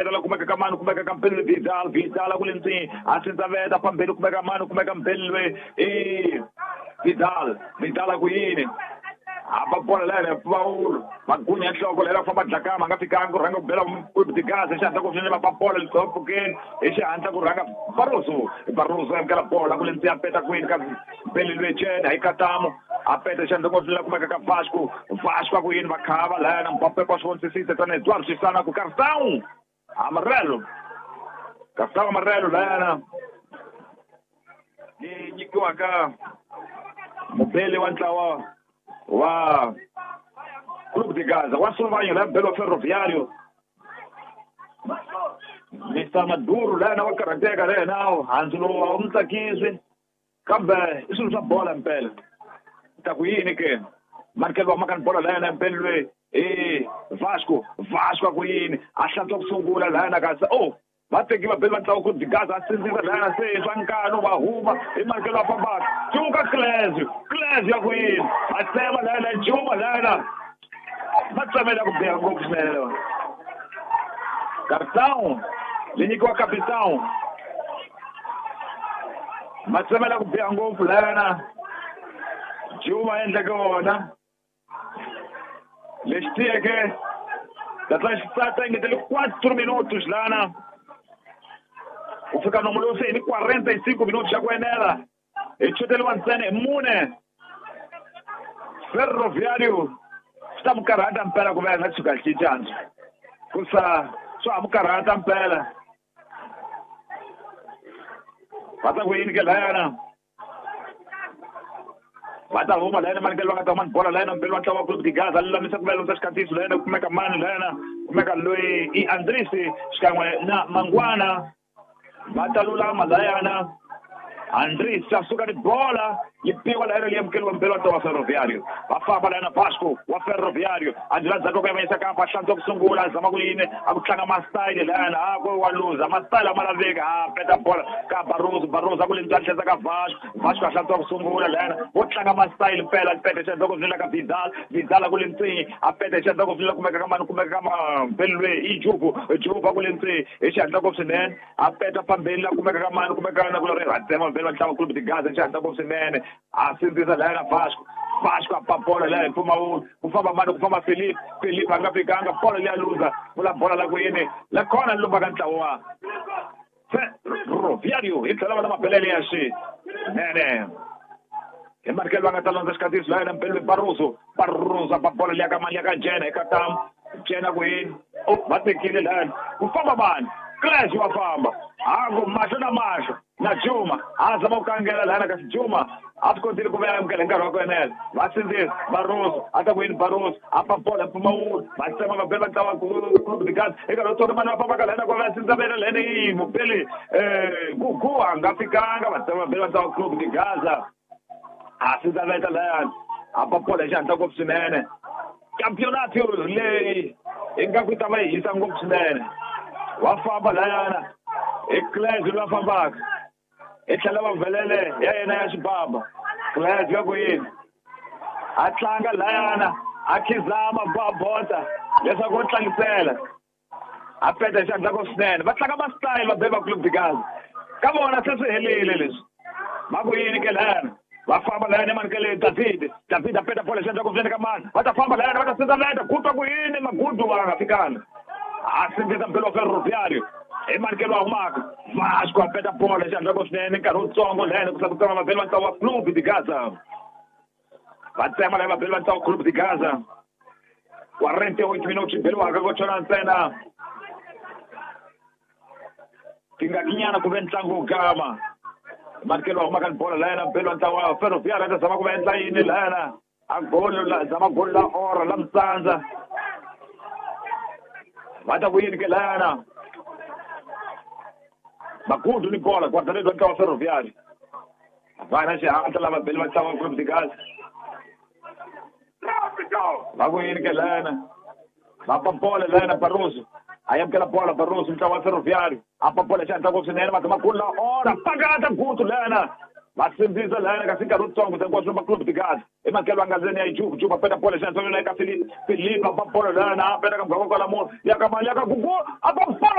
peta la kumeka ka mani kumeka ka Mpelwe Vidal Vidal ku le ndzeni a sindzaveta phambili kumeka mani kumeka Mpelwe i Vidal Vidal ku yini a bola lera Paulo magunya nhloko lera famba dlakama nga fikanga ku rhanga ku bela Clube de Gaza xihatla ku swinene va bola litsopfukeni hi xihatla ku rhanga Barroso Barroso amukela bola ku le ndzeni a peta kwini ka Mpelwe Chena hi Katamo a peta xihatla ku swinene kumeka ka Vasco Vasco ku yini va khava lana Mbappe kwa swi tana Eduardo Sisana ku cartão amarelo cartão amarelo lana ni nyikiwaka mubeli wa ntlawa wa Clube de Gaza wa Sulvanho la Belo Ferroviário Mr. Maduro lana wa karhateka lena handzu lowu a wu n'wi tsakisi kambe i swilo swa bola mpela ta ku yini ke Markel wa maka ni bola lana mpela loyi i Vasco Vasco ku yini a hlantswa ku sungula lana kasi oh va teki va beli va ntlawa Clube de Gaza a sindzisa lana se swa nkano va huma hi Markel wa fambaka cuka Clésio Clésio ya ku yini a tsema lana Juma lana va tsemela ku biha ngopfu swinene lewa cartão li nyikiwa capitão ma tsemela ku biha ngopfu lana Juma endleke wona lexi tiyeke tatla xitsata engetele 4 minutos lana ku fika nomo lowu se hi ni 45 minutos xa ku enela hi chuteriwa ntsena hi mune Ferroviário swi ta mu karhata mpela ku va nga tshuka cincandzo ku sa swa ha mu karhata mpela va ta ku yini ke layana va ta huma layana mani ke va nga ta huma ni bola layana mpela wa ntlawa wa Clube de Gaza lulamisa ku va lumisa xikatiso layana kumeka mani layana kumeka loyi i Andrisi xikan'we na Mangwana va ta lulama layana Andris a suka ni bola yi biwa layana leyi amukeriwa mpela wa ntlawa wa Ferroviário va famba layana Vasco wa Ferroviário Andrés ndzhaku ka yavanyisa kampa hlantswa ku sungula a zama ku yini a ku tlanga masitayili layana a ku wa luza masitayili a ma laveki a peta bola ka Barroso Barroso a ku le ndzani tlhesa ka Vasco Vasco a hlantswa ku sungula layana wo tlanga masitayili mpela peta xihatla ku vinela ka Vidal Vidal a ku le ndzeni a peta xihatla ku vinela kumeka ka mani kumeka ka Mpelwe i Jubu Jubu a ku le ndzeni hi xihatla ku swinene a peta phambili la kumeka ka mani kumeka na ku ri ratsema mpela ntlawa Clube de Gaza xihatla ku swinene a sindzisa layana Vasco Vasco a pa bola laya hi mpfumawulo ku famba mani ku famba Felipe Felipe a nga fikanga bola leya luza vula bola la ku yini la khona lumba ka ntlawa wa Ferroviário hi tlhela va na mabelele ya swinene hi Markel va nga ta landza xikatiso layana Mpelwe Barroso Barroso a pa bola leya ka mani ya ka Jena hi Katamu Jena ku yini va tekile layana ku famba mani Clésio wa famba haku mahlo na mahlo na Juma a zama ku kangela lana kasi Juma a swi kotile ku va amukela hi nkarhi wa ku enela va sindzisa Barroso a ta ku yini Barroso a pa bola mpfumawulo va tsema va bela ntlawa Clube de Gaza eka loko tsonga mani va fambaka lana ku va sindzavela lana yi mupeli Gugu a nga fikanga va tsema va bela ntlawa Clube de Gaza a sindzaveta layani a pa bola hi xihatla ngopfu swinene campeonato leyi ingaku yi ta va yi hisa ngopfu swinene wa famba layana i Clésio loyi a fambaka i tlhela va velele ya yena ya xibaba Clésio ya ku yini a tlanga layana a khizama va bota leswaku u tlangisela a peta xihatla ku swinene va tlanga masitayili va beli va Clube de Gaza ka vona se swi helile leswi va ku yini ke layana va famba layana mani ke le David David a peta bola xihatla ku swinene ka mani va ta famba layana va ta sindzaveta ku twa ku yini magudu va nga fikanga a sindzisa mpela wa Ferroviário hi Markel wa humaka Vasco a peta bola xihatla ku swinene nkarhi wutsongo layana ku ku tsema vabeli va ntlawa wa Clube de Gaza va tsema laya vabeli va ntlawa wa Clube de Gaza 48 minutos beliwaka ko chona ntsena tingakinyana ku ve ntlangu wu gama Markel wa humaka ni bola layana mpela wa ntlawa wa Ferroviário a ta zama ku va endla yini layana a golo la zama golo la ora la mtsandza va ta ku yini ke layana Magudu ni bola guarda-redes wa ntlawa wa Ferroviário va na xihatla lava beli va ntlawa wa Clube de Gaza va ku yini ke layana va pa bola layana Barroso a amukela bola Barroso ntlawa wa Ferroviário a pa bola xihatla ngopfu swinene va zama golo la ora pakata gutu layana va sindzisa layana kasi nkarhi wutsongo hinkwaswo va Clube de Gaza i Markel wa nga ndzeni ya Jubu Jubu a peta bola xihatla eka Felipe a pa bola layana a peta ka muganga kwala munhu ya ka mali ya ka Gugu a pa bola